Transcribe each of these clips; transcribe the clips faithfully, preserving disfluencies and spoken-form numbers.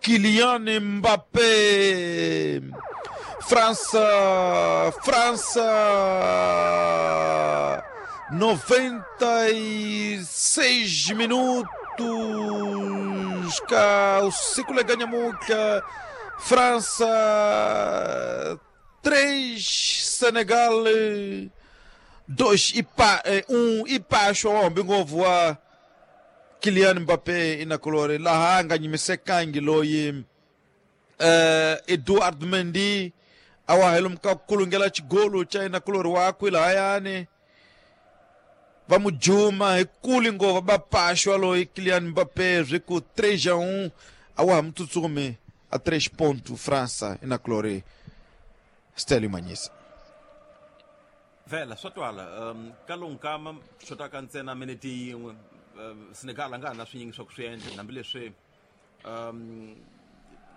Kylian Mbappé. França, França, noventa e seis minutos, cá o ciclo ganha muca. França três, Senegal dois e pa, um e pacho homem voa Kylian Mbappé ina colore lahanga nyimisekangi loyi uh, Edouard Mendy awahelum ka kulungela chigolo cha ina colore wakwe lahayani vamujuma hikuli ngova bapashwa loyi Kylian Mbappé riku três a um awa mtutsume a três pontos França ina colore Stélio Manhisa. Vela swa twala um kalonkama xotaka ntsena minute yin'we Senegal a nga ha na swinyingi swa ku swi endla hambileswi um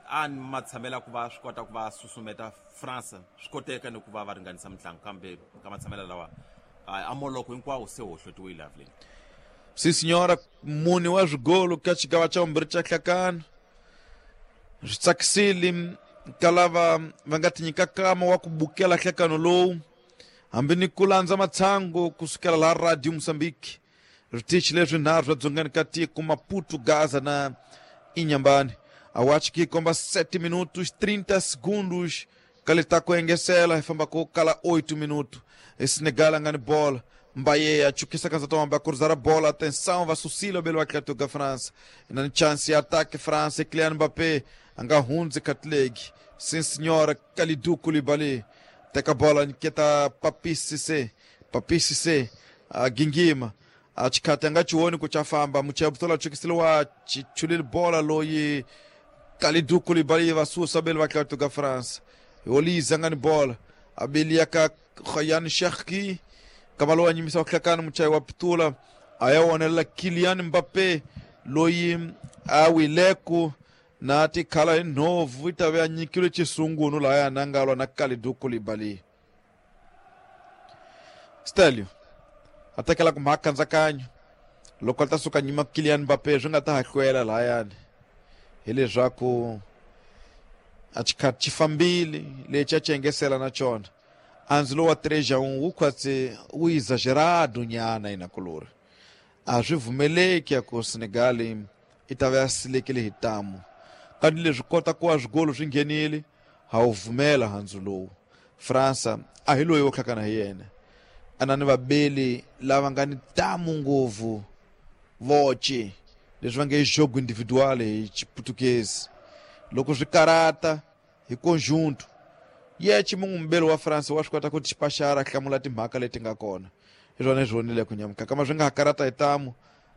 a ni matshamela ku va swi kota ku va susumeta France swi koteka ni ku va va ringanisa mitlangu kambe ka matshamela lawa a moloko hinkwawo se hohlotiwile avleni. Sim senhora, mune wa swigolo ka xigava xa vumbirhi xa hlakano swi tsakisile ka lava va nga ti nyika kama wa ku bukela hlakano lowu hambi ni ku landza matshango kusukela laha Radio Moçambique switichi leswi nharhu swa dzongeni ka tiko Maputo, Gaza na Inhambane. Awachi ki komba sete minutos trinta segundos kaleta ku engesela hi famba ku kala oito minutos. Senegal a nga ni bola Mbaye achukisa kanza tomba cruzar a bola, atenção, va Sucila belo atleta da França. Na chance ataque França, Kylian Mbappé anga hundze katlegi. Sim senhora, Kalidou Koulibaly teka bola niketa Papis Cissé, Papis Cissé a gingima a chikati anga chioni kuchafamba muchabutola chukisiliwa chichulil bola loyi Kalidou Koulibaly va susa belo atleta da França. Olise anga ni bola abiliaka Ryan Cherki kamalo anyimisa waklakana muchai wa pitula ayaonela Kylian Mbappé loyi awileku na tikhala nhovu itave anyikile chisungunu laya nangalwa na Kalidou Koulibaly. Stelio atakela kumhakanzakanyo loko a ta suka nyima Kylian Mbappé swi nga ta hahlwela layani hileswaku a xikhathi xi fambile lexi a xi engesela na xona anzi lowa três a um wu khwatse wu exagerado nyana inakulori a swi vumeleki ya ku Senegal i ta va ya silekile hi tamu kanti leswi kota ku wa swigolo swi nghenile ha wu vumela handzu lowu França a hi loyi wo hlakana hi yena a na ni vabeli lava nga ni tamu ngopfu voce leswi va nge jogo individual hi Xiputukezi loko swi karata hi conjunto yechi mungu mbeli wa France wa swi kota ku tipaxara hlamula timhaka leti nga kona hi swona hi swonile ku nyamuka kama swi nga ha karata hi tamu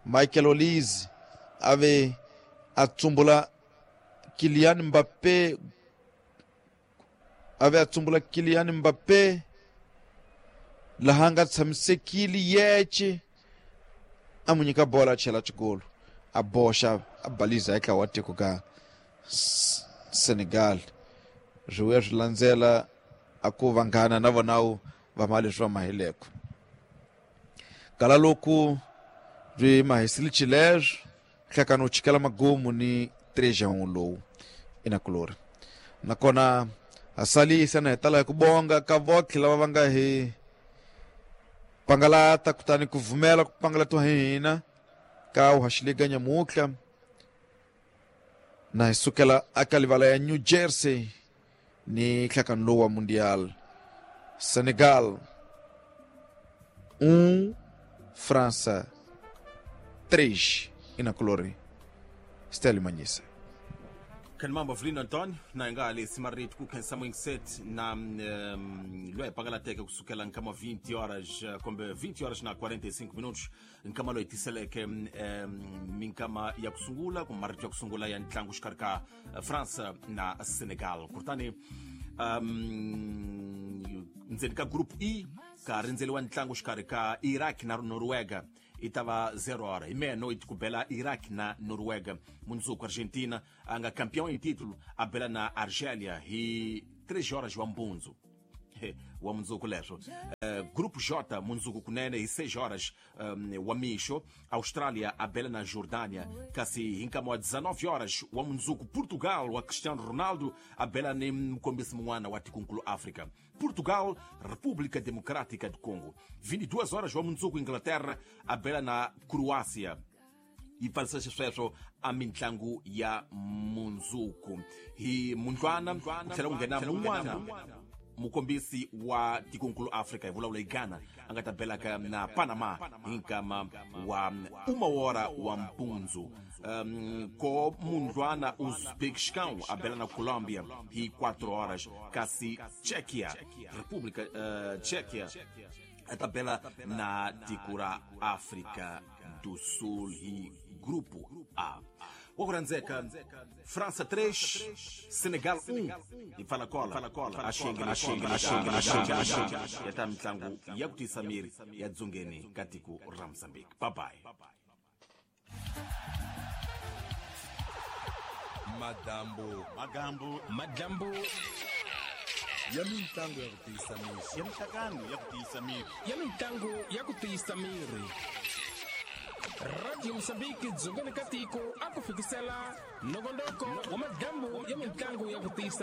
Michael Olise a ve a tsumbula Kylian Mbappé a ve a tsumbula Kylian Mbappé laha nga tshamisekile yeche a mu nyika bola a chela xikolo a boxa a baliza eka wa tiko ka Senegal swi vuya swi landzela a ku vanghana na vona va ma leswi va mahileko kala loko byi mahisile xileswo hlakano chikela magumu ni três a um lowu inakulori nakona a salisa na hetala hi ku bonga ka votlhe lava va nga hi pangalata kutani ku vumela ku pangalatiwa hi hina ka uhaxiliga nyamutlha na hi sukela aka livala ya New Jersey ni hlakano lowu wa Mundial. Senegal um, França três inakulori. Stélio Manhisa. Kan mambo Avelino Antonio na nga le simarit ku khensa set na um, loyi pangalateke kusukela nkama vinte horas kumbe vinte horas na quarenta e cinco minutos nkama loyi tiseleke um, minkama ya kusungula kumbe marito ya kusungula ya ntlangu xikarhi ka França na Senegal kutani um, ndzeni ka group E ka rindzeliwa ntlangu xikarhi ka Iraq na Noruega itava zero hora e meia-noite ku bela Iraq na Noruega mundzuku Argentina a nga campeão em título a bela na Argélia hi três horas wa mbundzu Wa mundzuku leswo. Uh, Grupo J, mundzuku kunene hi seis horas um, wa mixo, Austrália a bela na Jordânia, kasi hi nkama wa dezenove horas wa mundzuku Portugal wa Cristiano Ronaldo a bela ni mukombisi mun'wana wa tikunkulu África. Portugal, República Democrática do Congo. vinte e duas horas wa mundzuku Inglaterra a bela na Croácia. Yi pfarisa xisweswo a mitlangu ya mundzuku hi mundlwana ku tlhela ku nghena mun'wana mukombisi wa tikunkulu Afrika hi vulavula hi Ghana a nga ta belaka na Panama hi nkama wa uma hora wa mpundzu. Um, ko mundlwana Uzbekistão a bela na Colômbia hi quatro horas, kasi Tchequia, República uh, Tchequia a tabela na tiko ra África do Sul hi Grupo A. Wa ku rhandzeka França três, Senegal um hi pfala kola a xiyengeni ya ta mitlangu ya ku tiyisa miri ya dzongeni ka tiko ra Mozambique. Bye bye. Madambo magambo madambo ya mitlangu ya ku tiyisa miri ya mihlangano ya ku tiyisa miri ya mitlangu ya ku tiyisa miri. Radio Mozambique dzongeni ka tiko a ku fikisela nongonoko wa madambo ya mitlangu ya ku tiyisa